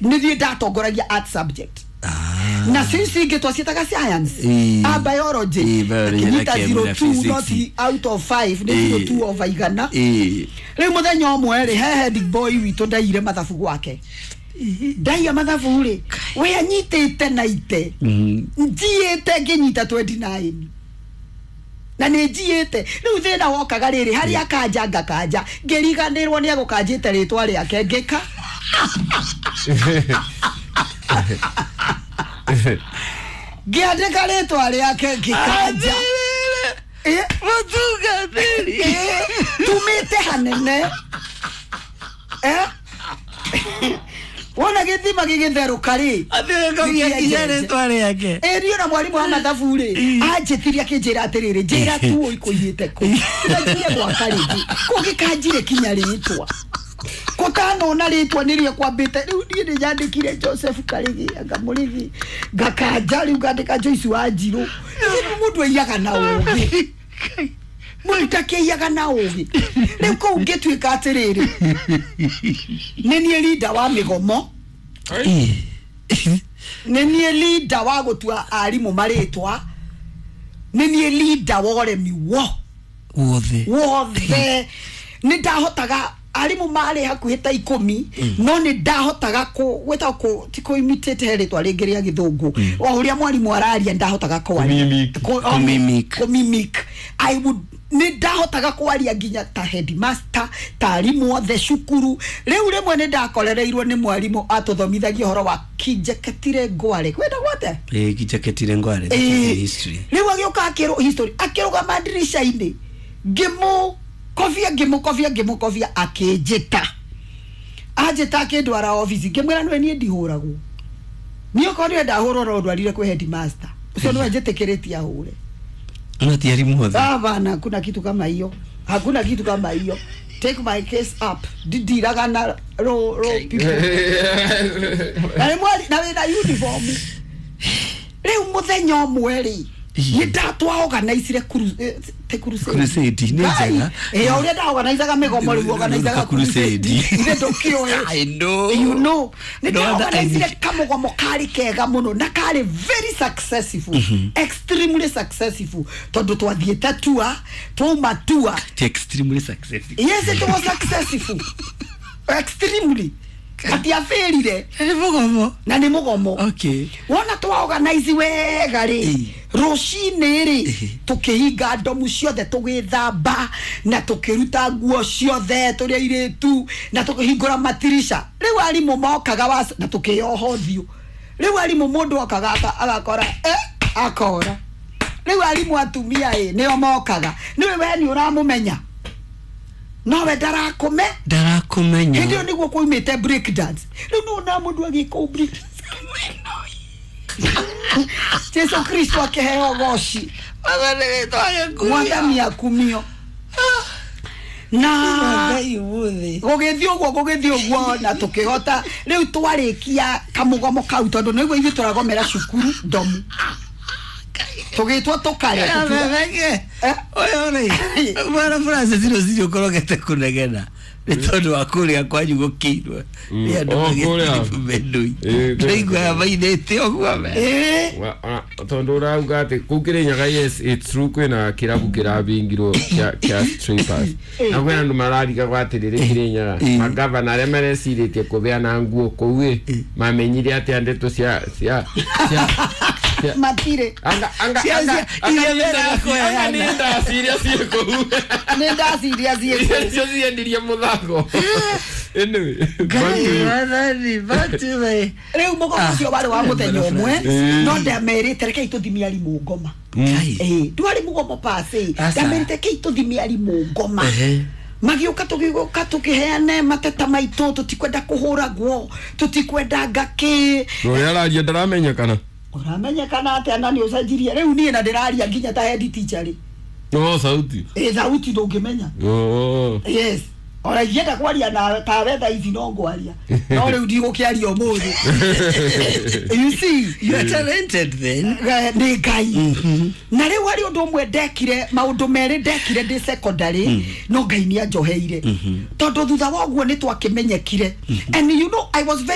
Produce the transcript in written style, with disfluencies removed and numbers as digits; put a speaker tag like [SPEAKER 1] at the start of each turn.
[SPEAKER 1] Nĩ thiĩ ndatongoragia art subject na since ingĩ twaciĩtaga science, a biology.
[SPEAKER 2] Biology na
[SPEAKER 1] Akĩnyita
[SPEAKER 2] chem na
[SPEAKER 1] 02
[SPEAKER 2] physics.
[SPEAKER 1] Not out of 5, nĩ 02 over 100. Rĩu mũthenya ũmwe rĩ, he head boy witũ ndaiyire mathabu gwake. Ndaiya mathabu rĩ, we anyitĩte na ite njiĩte ngĩnyita 29 na nĩ njiĩte. Rĩu thĩna wokaga rĩrĩ, harĩa akanja ngakanja, ngĩriganĩrwo nĩ egũkanjĩte rĩtwa rĩake, ngĩka ngĩandĩka rĩtwa rĩake ngĩkanja.
[SPEAKER 2] Mũtungatĩri.
[SPEAKER 1] Tumĩte hanene. Wona gĩthima gĩgĩtherũka rĩ,
[SPEAKER 2] Athiĩ nginya rĩtwa rĩake.
[SPEAKER 1] Ĩ niĩ na mwarimũ wa mathabu rĩ, anjĩtirie akĩnjĩra atĩrĩrĩ, njĩra tu ũikũiyĩte kũ nganjie gwaka rĩngĩ kũngĩkanjire kinya rĩtwa kũtanona rĩtwa nĩrĩo kwambĩte. Rĩu niĩ nĩ nyandĩkire Joseph Karĩgĩ anga Mũrĩgĩ, ngakanja rĩu ngandĩka Joyce wa Njirũ. Rĩu mũndũ aiyaga na ũgĩ, mũndũ ndakĩiyaga na ũgĩ. Rĩu kũu ngĩtuĩka atĩrĩrĩ, nĩ niĩ leader wa mĩgomo, nĩ niĩ leader wa gũtua arimũ marĩtwa, nĩ niĩ leader wa ũremi wo
[SPEAKER 2] wothe.
[SPEAKER 1] Wothe. Nĩ ndahotaga, arimũ marĩ hakuhĩ ta 10, no nĩ ndahotaga gwĩtagwo ti kũ imitate, he rĩtwa rĩngĩ rĩa gĩthũngũ, o ũrĩa mwarimũ araria ndahotaga kwaria.
[SPEAKER 3] Kũmimic.
[SPEAKER 2] Kũmimic.
[SPEAKER 1] Kũmimic. I would, nĩ ndahotaga kwaria nginya ta headmaster, ta arimũ othe cukuru. Rĩu rĩmwe nĩ ndakorereirwo nĩ mwarimũ atũthomithagia ũhoro wa Kinjeketire Ngware, kwenda gwate.
[SPEAKER 2] Kinjeketire Ngware, that is in history.
[SPEAKER 1] Rĩu agĩũka akĩrũ history, akĩrũgama ndirica-inĩ, ngĩmũkobia, ngĩmũkobia, ngĩmũkobia, akĩnjĩta, anjĩta akĩndwara obici. Ngĩmwĩra, nĩwe niĩ ndihũragwo, niĩ okorwo nĩwe ndahũrwo no ndwarire kwĩ headmaster ũcio, nĩwe njĩtĩkĩrĩtie ahũre.
[SPEAKER 2] No ti arimũ othe.
[SPEAKER 1] Hapana, hakuna kitu kama hiyo, hakuna kitu kama hiyo. Take my case up. Ndindiraga na ro people na nĩ mwari na wĩna uniform. Rĩu mũthenya ũmwe rĩ, nĩ ndatwaorganizire te crusade.
[SPEAKER 2] Crusade, nĩ njega.
[SPEAKER 1] Ĩ ũrĩa ndaorganizaga mĩgomo, rĩu organizaga
[SPEAKER 2] Crusade.
[SPEAKER 1] Ithe ndũkĩũĩ?
[SPEAKER 2] I know.
[SPEAKER 1] You know, nĩ
[SPEAKER 2] No wonder I
[SPEAKER 1] ndaorganizire
[SPEAKER 2] need-
[SPEAKER 1] kamũgomo karĩ kega mũno na karĩ very successful, extremely successful, tondũ twathiĩte tua, twauma tua.
[SPEAKER 2] Ti extremely successful.
[SPEAKER 1] Yes, it was successful extremely, atiabĩrire.
[SPEAKER 2] Nĩ mũgomo.
[SPEAKER 1] Na nĩ mũgomo. Wona twaorganize wega rĩ, rũcinĩ rĩ, tũkĩhinga ndomu ciothe, tũgĩthamba na tũkĩruta nguo ciothe tũrĩ airĩtu, na tũkĩhingũra matirisha. Rĩu arimũ mokaga na tũkĩyoha ũthiũ. Rĩu arimũ, mũndũ okaga agakora, akora. Rĩu arimũ atumia ĩ nĩo mokaga, nĩwe we nĩ ũramũmenya, nowe ndarakũme.
[SPEAKER 2] Ndarakumenya.
[SPEAKER 1] Hĩndĩ ĩyo nĩguo kwaumĩte break dance. Rĩu nona mũndũ agĩka break dance, Jesu Kristo akĩheo goci. Mwathani akumio. Na
[SPEAKER 2] Ngai ũmũthĩ.
[SPEAKER 1] Gũgĩthiĩ ũguo, gũgĩthiĩ ũguo, na tũkĩhota. Rĩu twarĩkia kamũgomo kau, tondũ nĩguo ithuĩ tũragomera cukuru ndomu, tũgĩtwo tũkare.
[SPEAKER 2] Bebeke.
[SPEAKER 1] Eh?
[SPEAKER 2] Ũyũ rĩ, mwana Francis, rũcinĩ ũkorogete kũnegena nĩ tondũ wa kũrĩa kwanyu gũkĩirwo nĩ andũ
[SPEAKER 3] Oh, kũrĩa.
[SPEAKER 2] magĩtiribu mendũi.
[SPEAKER 3] Kũrĩa.
[SPEAKER 2] Ndĩraigua mainĩte ũguo me.
[SPEAKER 3] Tondũ ũrauga atĩ kũu Kĩrĩnyaga, yes, it's true, kwĩna kĩrabu kĩrabingirwo kĩa strippers, na kwĩna andũ mararigagwo atĩrĩrĩ, Kĩrĩnyaga magavana arĩa marecirĩtie kũbeana nguo kũu ĩ mamenyire atĩa ndeto cia
[SPEAKER 1] Matirĩ.
[SPEAKER 3] anga
[SPEAKER 2] Iria
[SPEAKER 3] anga nĩ
[SPEAKER 2] mendaga
[SPEAKER 3] anga
[SPEAKER 2] kũheana.
[SPEAKER 3] nĩ ndaci iria ciĩ kũu.
[SPEAKER 1] Nĩ ndaciria
[SPEAKER 3] Iria
[SPEAKER 1] ciĩ.
[SPEAKER 3] nĩcio ciendirie mũthako. Anyway, back to you.
[SPEAKER 2] Mwathani, back to me.
[SPEAKER 1] Rĩu mũgomo ũcio warĩ wa mũthenya ũmwe, no ndamerĩte rekei tũthimie arimũ ngoma.
[SPEAKER 2] Ngai.
[SPEAKER 1] Ĩ ndwarĩ mũgomo pasi.
[SPEAKER 2] Aca.
[SPEAKER 1] Ndamerĩte rekei tũthimie arimũ ngoma. Magĩũka, tũgĩũka tũkĩheane mateta maitũ, tũtikwenda kũhũragwo, tũtikwenda ngakĩ.
[SPEAKER 3] Na ũrĩa araria ndaramenyekana.
[SPEAKER 1] Ũramenyekana atĩa na nĩ ũcenjirie? Rĩu niĩ na ndĩraria nginya ta head teacher rĩ.
[SPEAKER 3] No sauti.
[SPEAKER 1] Ĩ thauti ndũngĩmenya.
[SPEAKER 3] Oh.
[SPEAKER 1] Yes, ona ingĩenda kwaria nawe tawe thaa ici no ngwaria, no rĩu ndigũkĩaria ũmũthĩ, you see.
[SPEAKER 2] You are talented then.
[SPEAKER 1] Nĩ Ngai. Na rĩu harĩ ũndũ ũmwe ndekire, maũndũ merĩ ndekire ndĩ secondary, no Ngai nĩ anjoheire, tondũ thutha wa ũguo nĩ twakĩmenyekire, and you know I was very